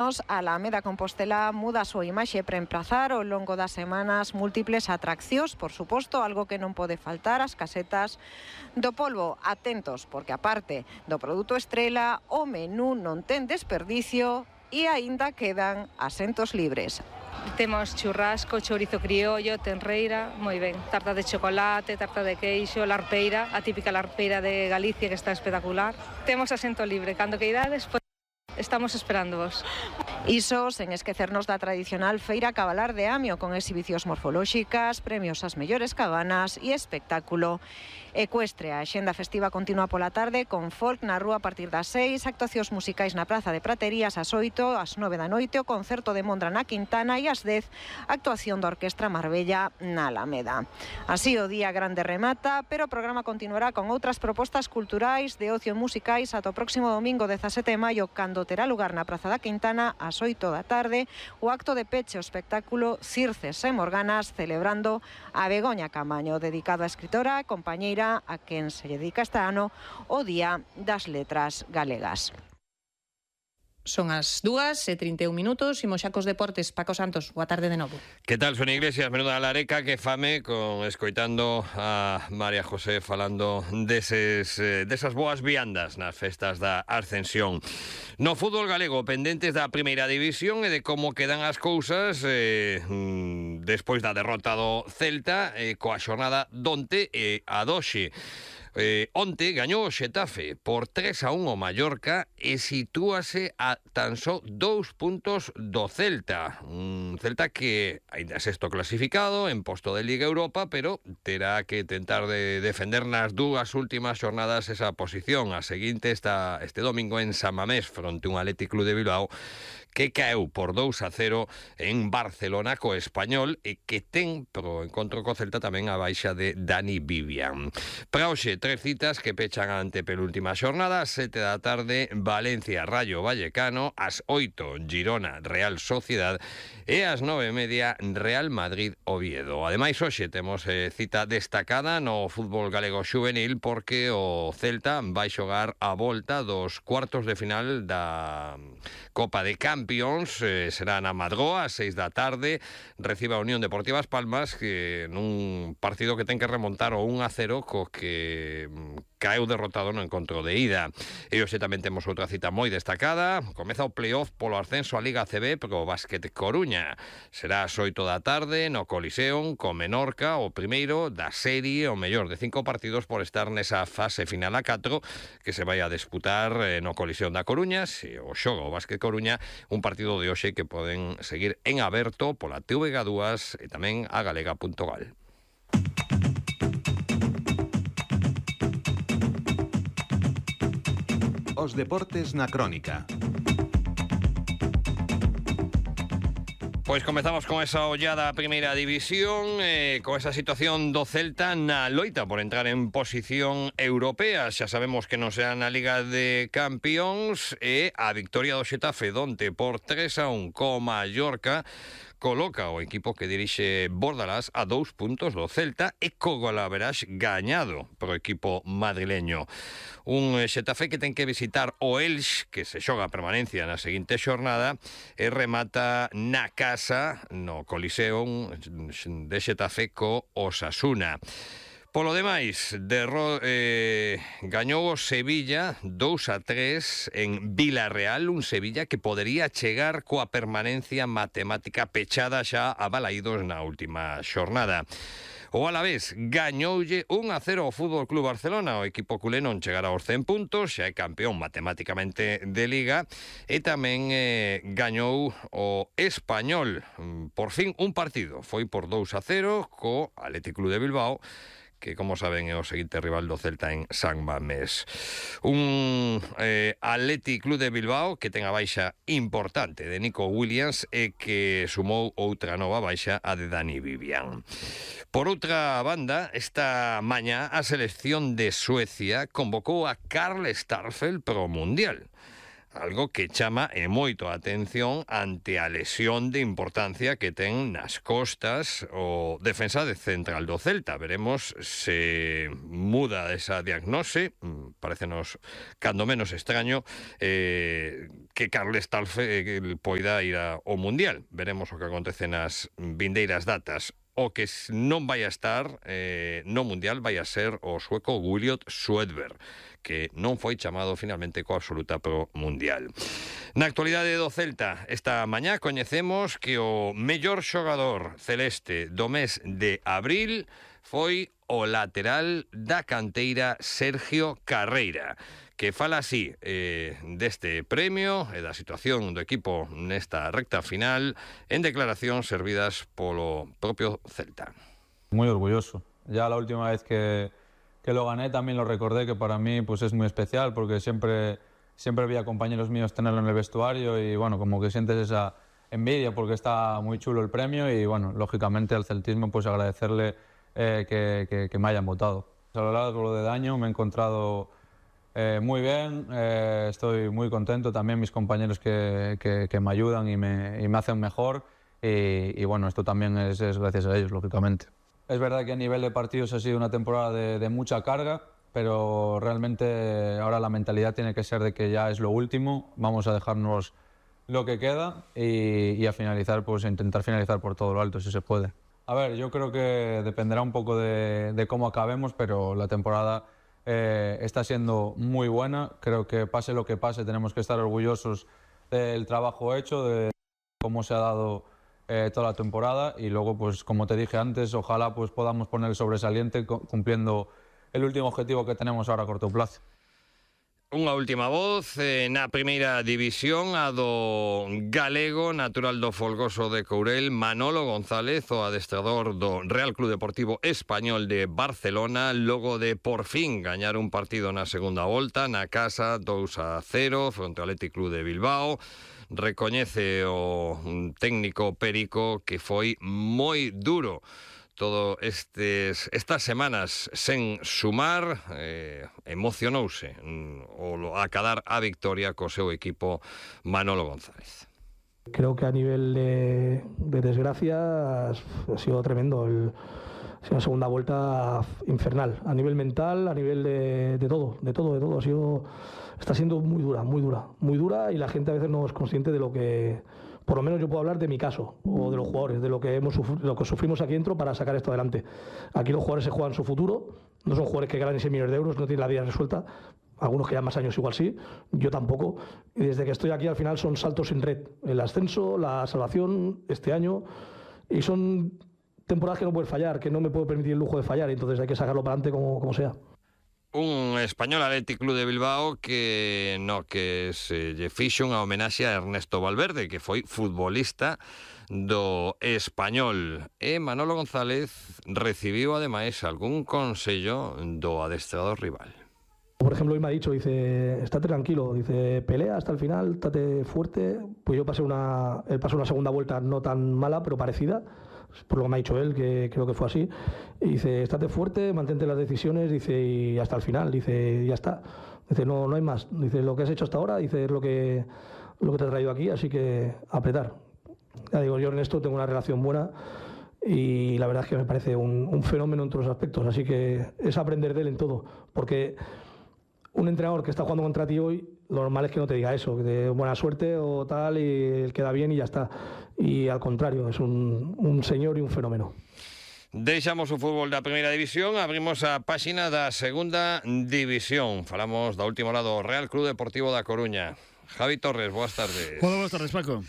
A Alameda Compostela muda a súa imaxe para emprazar ao longo das semanas múltiples atraccións, por suposto, algo que non pode faltar, as casetas do polvo. Atentos, porque aparte do produto estrela, o menú non ten desperdicio e aínda quedan asentos libres. Temos churrasco, chourizo criollo, tenreira, moi ben, tarta de chocolate, tarta de queixo, larpeira, a típica larpeira de Galicia que está espectacular. Temos asento libre, cando queirades, estamos esperándovos. Iso sen esquecernos da tradicional feira cabalar de Amio, con exhibicións morfolóxicas, premios ás mellores cabanas e espectáculo ecuestre. A axenda festiva continúa pola tarde con folk na rúa a partir das 6, actuacións musicais na Praza de Praterías ás 8, ás 9 da noite, o concerto de Mondra na Quintana e ás 10, actuación da Orquestra Marbella na Alameda. Así o día grande remata, pero o programa continuará con outras propostas culturais de ocio musicais ata o próximo domingo 17 de maio, cando terá lugar na Praza da Quintana ás 8 da tarde o acto de peche o espectáculo Circes e Morganas, celebrando a Begoña Camaño, dedicado á escritora e compañeira a quen se dedica este ano o Día das Letras Galegas. Son as 2:31, imos xa cos deportes. Paco Santos, boa tarde de novo. Que tal, Sonia Iglesias? Menuda lareca que fame con escoitando a María José falando desas boas viandas nas festas da Ascensión. No fútbol galego, pendentes da primeira división e de como quedan as cousas despois da derrota do Celta coa xornada donte e a doxe. Onte gañou o Xetafe por 3-1 o Mallorca e sitúase a tan só 2 puntos do Celta. Un Celta que ainda é sexto clasificado en posto de Liga Europa, pero terá que tentar de defender nas dúas últimas xornadas esa posición. A seguinte está este domingo en San Mamés fronte un Athletic Club de Bilbao que caeu por 2-0 en Barcelona co Español e que ten pro encontro co Celta tamén a baixa de Dani Vivian. Para hoxe, 3 citas que pechan a antepenúltima xornada: 7 da tarde, Valencia Rayo Vallecano, ás 8 Girona Real Sociedad e ás 9:30 Real Madrid Oviedo. Ademais, hoxe temos cita destacada no fútbol galego xuvenil porque o Celta vai xogar a volta dos cuartos de final da Copa de Campions, será na Madroa ás 6 da tarde, recibe a Unión Deportiva As Palmas, que nun partido que ten que remontar o 1-0 co que caeu derrotado no encontro de ida. E hoxe tamén temos outra cita moi destacada. Comeza o playoff polo ascenso a Liga ACB pro Básquet Coruña. Será ás 8 da tarde no Coliseum co Menorca, o primeiro da serie, o mellor de 5 partidos por estar nesa fase final a 4 que se vai a disputar no Coliseum da Coruña. Se o xoga o Básquet Coruña, un partido de hoxe que poden seguir en aberto pola TVG2 e tamén a galega.gal. Os deportes na crónica. Pois comezamos con esa ollada a primeira división, con esa situación do Celta na loita por entrar en posición europea. Xa sabemos que non será na Liga de Campións e a victoria do Xetafe donte por 3-1 co Mallorca coloca o equipo que dirixe Bordalás a 2 puntos do Celta e co golaveraxe gañado pro equipo madrileño. Un Xetafe que ten que visitar o Elx, que se xoga a permanencia na seguinte xornada, e remata na casa no Coliseum de Xetafe co Osasuna. Polo demais, gañou o Sevilla 2-3 en Vilarreal, un Sevilla que podería chegar coa permanencia matemática pechada xa a balaídos na última xornada. O Alavés gañoulle 1-0 ao Fútbol Club Barcelona. O equipo culé non chegará aos 100 puntos, xa é campeón matemáticamente de Liga, e tamén gañou o Español. Por fin un partido, foi por 2-0 co Athletic Club de Bilbao, que, como saben, é o seguinte rival do Celta en San Mamés. Un Athletic Club de Bilbao que ten a baixa importante de Nico Williams e que sumou outra nova baixa, a de Dani Vivian. Por outra banda, esta mañá a selección de Suecia convocou a Karl Starfelt pro Mundial. algo que chama e moito a atención ante a lesión de importancia que ten nas costas o defensa de central do Celta. Veremos se muda esa diagnose. Parecenos cando menos extraño que Carles Talfe poida ir ao Mundial. Veremos o que acontece nas vindeiras datas. O que non vai a estar no Mundial vai a ser o sueco Williot Swedberg, que non foi chamado finalmente coa absoluta pro Mundial. Na actualidade do Celta, esta mañá coñecemos que o mellor xogador celeste do mes de abril foi o lateral da canteira Sergio Carreira, que fala así deste premio e da situación do equipo nesta recta final en declaracións servidas polo propio Celta. Muy orgulloso. Ya la última vez que lo gané también lo recordé, que para mí pues es muy especial porque siempre vi a compañeros míos tenerlo en el vestuario y bueno, como que sientes esa envidia porque está muy chulo el premio y bueno, lógicamente al celtismo pues agradecerle que me hayan votado. A lo largo del año me he encontrado muy bien, estoy muy contento, también mis compañeros que me ayudan y me hacen mejor y bueno, esto también es gracias a ellos, lógicamente. Es verdad que a nivel de partidos ha sido una temporada de mucha carga, pero realmente ahora la mentalidad tiene que ser de que ya es lo último, vamos a dejarnos lo que queda y a finalizar, pues intentar finalizar por todo lo alto si se puede. A ver, yo creo que dependerá un poco de cómo acabemos, pero la temporada está siendo muy buena. Creo que pase lo que pase tenemos que estar orgullosos del trabajo hecho, de cómo se ha dado toda la temporada y luego, pues como te dije antes, ojalá pues podamos poner el sobresaliente cumpliendo el último objetivo que tenemos ahora a corto plazo. Unha última voz na primeira división, a do galego natural do Folgoso de Courel, Manolo González, o adestrador do Real Club Deportivo Español de Barcelona, logo de por fin gañar un partido na segunda volta na casa 2-0 fronte ao Athletic Club de Bilbao. Recoñece o técnico Perico que foi moi duro todo estas semanas sen sumar, emocionouse o acadar a victoria co seu equipo Manolo González. Creo que a nivel de desgracia ha sido tremendo. Ha sido una segunda vuelta infernal. A nivel mental, a nivel de todo. Está siendo muy dura y la gente a veces no es consciente de lo que... Por lo menos yo puedo hablar de mi caso, o de los jugadores, de lo que sufrimos aquí dentro para sacar esto adelante. Aquí los jugadores se juegan su futuro, no son jugadores que ganan 6 millones de euros, no tienen la vida resuelta, algunos que llevan más años igual sí, yo tampoco. Y desde que estoy aquí al final son saltos sin red, el ascenso, la salvación este año, y son temporadas que no puedes fallar, que no me puedo permitir el lujo de fallar, entonces hay que sacarlo para adelante como sea. Un español Athletic Club de Bilbao que se lle fixo unha homenaxe a Ernesto Valverde, que foi futbolista do Español. E Manolo González recibiu ademais algún consello do adestrador rival. Por ejemplo, hoy me ha dicho, dice, estate tranquilo, dice, pelea hasta el final, estate fuerte. Pues yo él pasó una segunda vuelta no tan mala, pero parecida, por lo que me ha dicho él, que creo que fue así. Y dice, estate fuerte, mantente las decisiones, dice, y hasta el final, dice, ya está. Dice, no hay más. Dice, lo que has hecho hasta ahora, dice, es lo que te ha traído aquí, así que apretar. Ya digo, yo en esto tengo una relación buena y la verdad es que me parece un fenómeno en todos los aspectos, así que es aprender de él en todo, porque un entrenador que está jugando contra ti hoy, lo normal es que no te diga eso, que de buena suerte o tal, y él queda bien y ya está. Y al contrario, es un señor y un fenómeno. Deixamos o fútbol da primeira división, abrimos a páxina da segunda división. Falamos da última hora do Real Club Deportivo da Coruña. Javi Torres, boas tardes. Hola, boas tardes, Paco.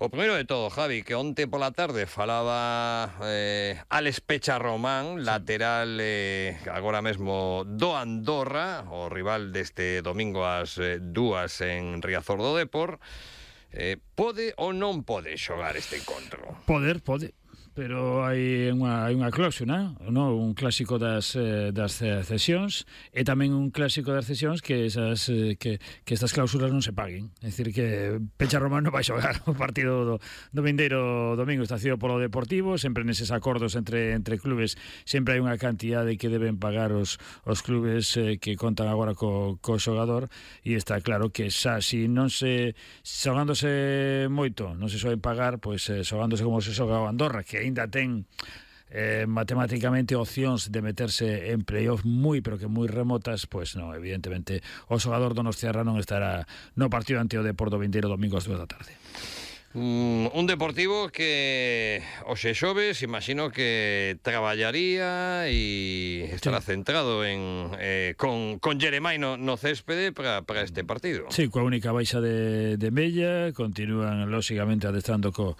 O primeiro de todo, Javi, que onte pola tarde falaba Alex Pecharromán, lateral agora mesmo do Andorra, o rival deste domingo ás 2 en Riazor do Depor. Pode ou non pode xogar este encontro? Pode. pero hai unha cláusula, no? Un clásico das cesións e tamén un clásico das cesións que estas cláusulas non se paguen. É dicir, que Pecha Román non vai xogar o partido do vindeiro domingo, estacido polo Deportivo, sempre neses acordos entre clubes, sempre hai unha cantidade que deben pagar os clubes que contan agora co xogador, e está claro que xa, si non se xogándose moito, non se soen pagar, pois xogándose como se xoga o Andorra, que aínda ten matemáticamente opcións de meterse en playoff pero que moi remotas, pois non, evidentemente o xogador donostiarra non estará no partido ante o Deportivo vindeiro domingo ás 2 da tarde. Un Deportivo que hoxe xoves imagino que traballaría e estará centrado con Jeremai no céspede para este partido. Sí, coa única baixa de Mella, continúan lóxicamente adestando co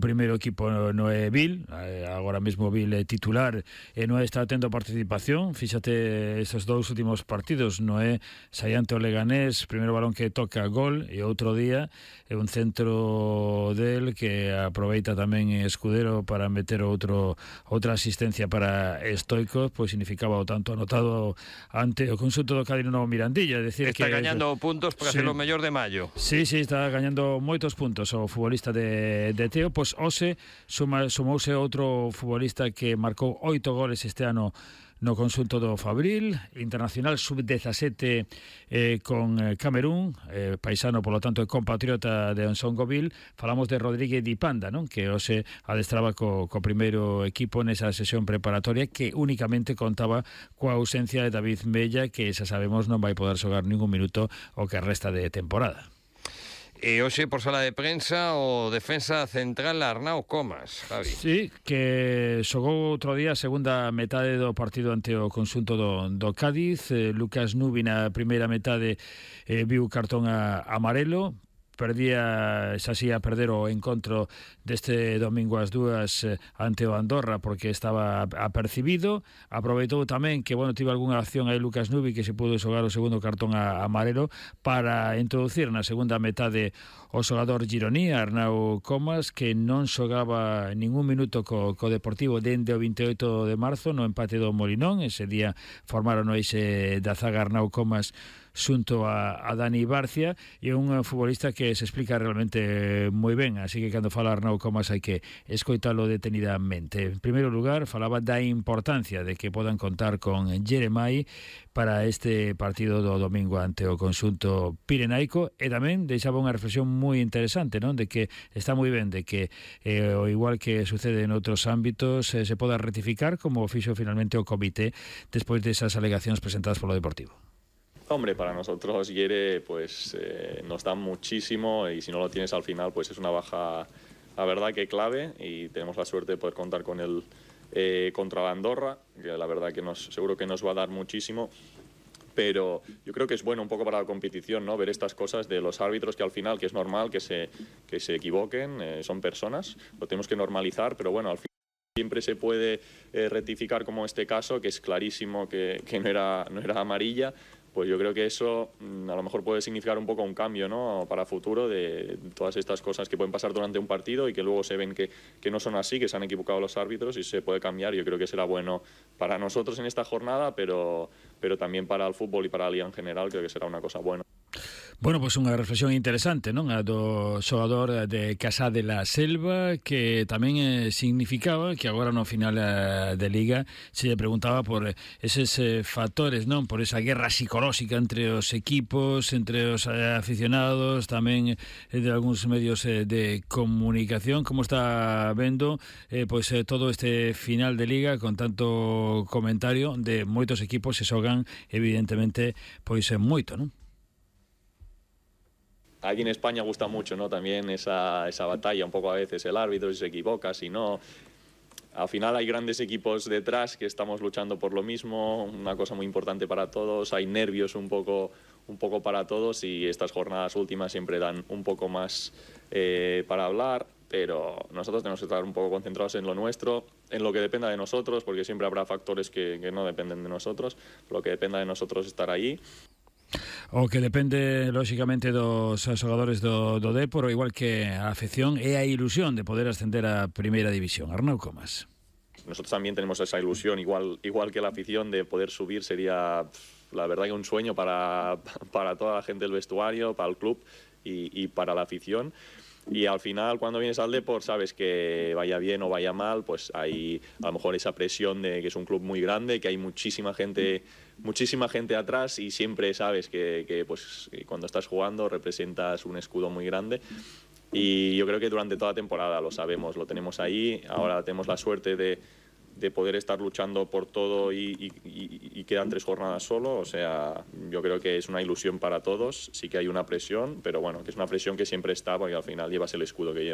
primeiro equipo Noé Vil, agora mesmo Vil é titular e Noé está tendo participación. Fíxate estes dous últimos partidos, Noé saíante o Leganés, primeiro balón que toca gol, e outro día é un centro del que aproveita tamén Escudero para meter outra asistencia para Stoico, pois significaba o tanto anotado ante o conxunto do Cádiz no Mirandilla. Decir está que gañando puntos para ser o mellor de maio. Sí, está gañando moitos puntos o futbolista de Teo. Pois hoxe sumouse outro futbolista que marcou 8 goles este ano no conxunto do Fabril, internacional sub-17 con Camerún, paisano, polo tanto, é compatriota de Onsongoville. Falamos de Rodríguez Di Panda, non? Que hoxe adestraba co primeiro equipo nesa sesión preparatoria, que únicamente contaba coa ausencia de David Mella, que xa sabemos non vai poder xogar ningún minuto o que resta de temporada. E hoxe, por sala de prensa, o defensa central Arnau Comas, Javi. Sí, que xogou outro día a segunda metade do partido ante o conxunto do Cádiz. Lucas Nubi na primeira metade viu cartón amarelo, perdía, xa si a perder o encontro deste domingo ás 2 ante o Andorra porque estaba apercibido. Aproveitou tamén que, tive algunha acción aí Lucas Nubi, que se pudo xogar o segundo cartón amarelo para introducir na segunda metade o xogador gironí, Arnau Comas, que non xogaba ningún minuto co Deportivo dende o 28 de marzo no empate do Molinón. Ese día formaron o eixe da zaga Arnau Comas xunto a Dani Barcia, e un futbolista que se explica realmente moi ben, así que cando fala Arnau Comas hai que escoitalo detenidamente. En primeiro lugar, falaba da importancia de que podan contar con Jeremai para este partido do domingo ante o conxunto pirenaico, e tamén deixaba unha reflexión moi interesante, non? De que está moi ben de que o igual que sucede en outros ámbitos se poda rectificar, como fixo finalmente o comité despois desas alegacións presentadas polo Deportivo. Hombre, para nosotros Yere pues nos da muchísimo, y si no lo tienes al final pues es una baja, la verdad que clave, y tenemos la suerte de poder contar con él contra la Andorra, que la verdad que seguro que nos va a dar muchísimo. Pero yo creo que es bueno un poco para la competición, ¿no? Ver estas cosas de los árbitros, que al final, que es normal que se equivoquen, son personas, lo tenemos que normalizar, pero bueno, al final siempre se puede rectificar, como este caso, que es clarísimo que no era amarilla. Pues yo creo que eso a lo mejor puede significar un poco un cambio, ¿no? Para futuro, de todas estas cosas que pueden pasar durante un partido y que luego se ven que no son así, que se han equivocado los árbitros, y se puede cambiar. Yo creo que será bueno para nosotros en esta jornada, pero también para el fútbol y para la liga en general. Creo que será una cosa buena. Bueno, pois unha reflexión interesante, non? A do xogador de Casá de la Selva, que tamén significaba que agora no final de Liga se lle preguntaba por eses factores, non? Por esa guerra psicolóxica entre os equipos, entre os aficionados, tamén de algúns medios de comunicación. Como está vendo pois todo este final de Liga con tanto comentario de moitos equipos que xogan evidentemente pois moito, non? Aquí en España gusta mucho, ¿no? También esa batalla, un poco a veces el árbitro, si se equivoca, si no. Al final hay grandes equipos detrás que estamos luchando por lo mismo, una cosa muy importante para todos, hay nervios un poco para todos, y estas jornadas últimas siempre dan un poco más para hablar, pero nosotros tenemos que estar un poco concentrados en lo nuestro, en lo que dependa de nosotros, porque siempre habrá factores que no dependen de nosotros, lo que dependa de nosotros estar ahí. O que depende, lóxicamente, dos xogadores do Dépor, igual que a afección e a ilusión de poder ascender a Primeira División. Arnau Comas. Nosotros también tenemos esa ilusión, igual que la afición, de poder subir. Sería, la verdad, que un sueño para toda la gente del vestuario, para el club y para la afición. Y al final, cuando vienes al Depor, sabes que vaya bien o vaya mal, pues hay a lo mejor esa presión de que es un club muy grande, que hay muchísima gente atrás, y siempre sabes que cuando estás jugando representas un escudo muy grande. Y yo creo que durante toda la temporada lo sabemos, lo tenemos ahí. Ahora tenemos la suerte de poder estar luchando por todo y quedan 3 jornadas solo. O sea, yo creo que es una ilusión para todos. Sí que hay una presión, pero bueno, que es una presión que siempre está, porque al final llevas el escudo que llevas.